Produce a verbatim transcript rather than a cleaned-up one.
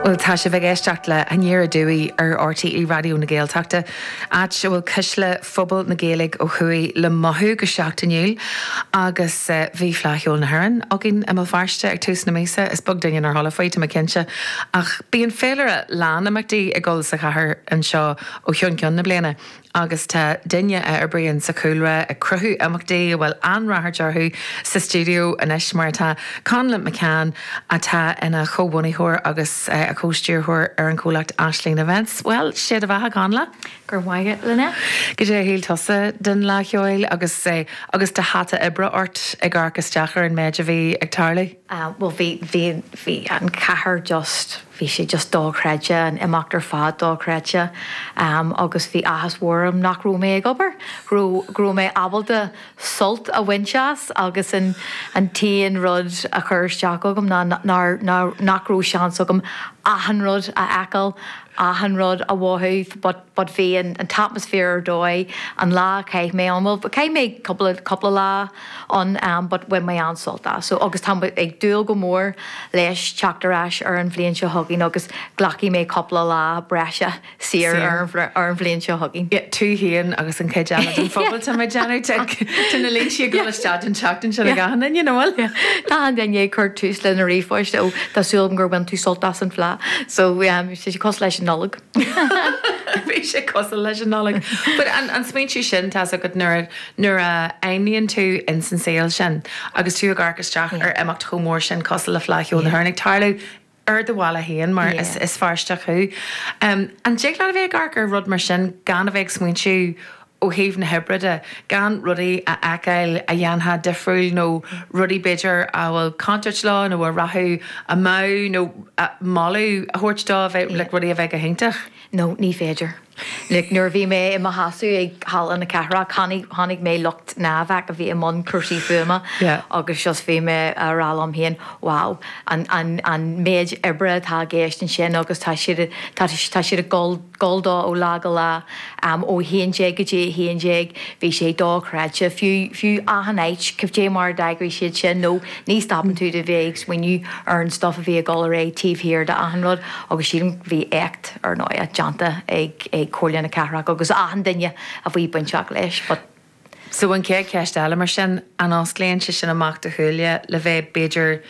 Well tá sibh ag éisteacht le Aniar Aduaidh ar RTÉ Raidió na Gaeltachta, áit a bhfuil cuisle phobal na Gaeilge ó thuaidh le mothú go seachtainiúil agus uh, bhí Fleadh Cheoil na hÉireann againn i mBéal Feirste ag tús na míosa is beag duine nár chuala faoi tá mé cinnte ach bíonn féilire lán imeachtaí ag dul sa chathair anseo ó cheann ceann na bliana. agus tá duine a oibríonn sa chúlra ag cruthú imeachtaí bhfuil an-rath orthu sa stiúideo anois mar atá Conleth McCann atá ina chomhbhunaitheoir agus uh, a chomhstiúrthóir ar an chomhlacht Aisling Events. Well sé do bheatha Conleth? Gur mhaige lena? Cad é a shíl tusa den Fhleadh Cheoil agus uh, agus do hata oibre ort ag amharc isteach ar an méid a bhí ag tarlú? Uh, well bhí bhí bhí an chathair just bhí sé just dochreidte an imeacht ar fad dochreidte um, agus bhí áthas orm nach raibh mé ag obair go raibh mé ábalta sult a bhaint as agus an an t-aon rud a chuir isteach agam ná nach raibh seans agam achan rud a fheiceáil achan rud a mhothú but but bhí an, an t-atmaisféar ar dóigh an lá chaith mé an well chaith mé cúpla lá an um, but bhain mé an-sult as so agus tá ag dúil go mór leis teacht ar ais ar an bhliain seo chugainn agus glacfaidh mé cúpla lá breise saor ar ar an bhliain seo chugainn. Tú féin agus an chuid eile den phobal tá mé déanamh na línte go isteach an tseachtain sin a you know Tá an duine chur tús lena ríomhphost ó tá súil gur bhain tú sult as an Fhleadh so um, sé cosúil leis an Nollaig. Bhí sé cosúil leis an Nollaig. But an, an smaoineamh sin tá go nuair nuair a aimníonn tú in san saol sin agus tú ag amharc isteach ar imeacht chomh mór sin cosúil le Fleadh Cheoil na hÉireann ag tarlú ar do bhaile féin mar is, is Feirsteach thú. Um, an dtig leat a bheith ag amharc ar rud mar sin gan a bheith ag smaointiú ó thaobh na hoibre de gan rudaí a fheiceáil a dhéanfá difriúil nó rudaí b'fhéidir a bhfuil contúirt leo nó a rachadh amú nó moladh a thabhairt dó bheith le rudaí a bheith go hiontach. No, ní féidir. Like, nuair bhí mé i mo sheasamh ag halla na cathrach chonaic mé lucht NAVAC a bhí i mbun cúrsaí fuaime agus just bhí mé ag rá liom féin wow an, an, an méid oibre atá i gceist ansin agus tá siad tá siad ag dul dó ó lá go lá um, ó haon déag go dtí haon déag bhí sé dochreidte fiú fiú achan áit cibé mar d'eagraigh siad sin nó ní stopann tú de bheith ag smaoineamh ar an stuff a bhí ag dul ar aghaidh taobh thiar d'achan rud agus sílim bhí éacht ar ndóigh déanta ag ag Comhairle na Cathrach agus achan duine a bhí bainteach leis. But So an chéad cheist eile mar sin an osclaíonn sé sin amach do shúile le bheith b'fhéidir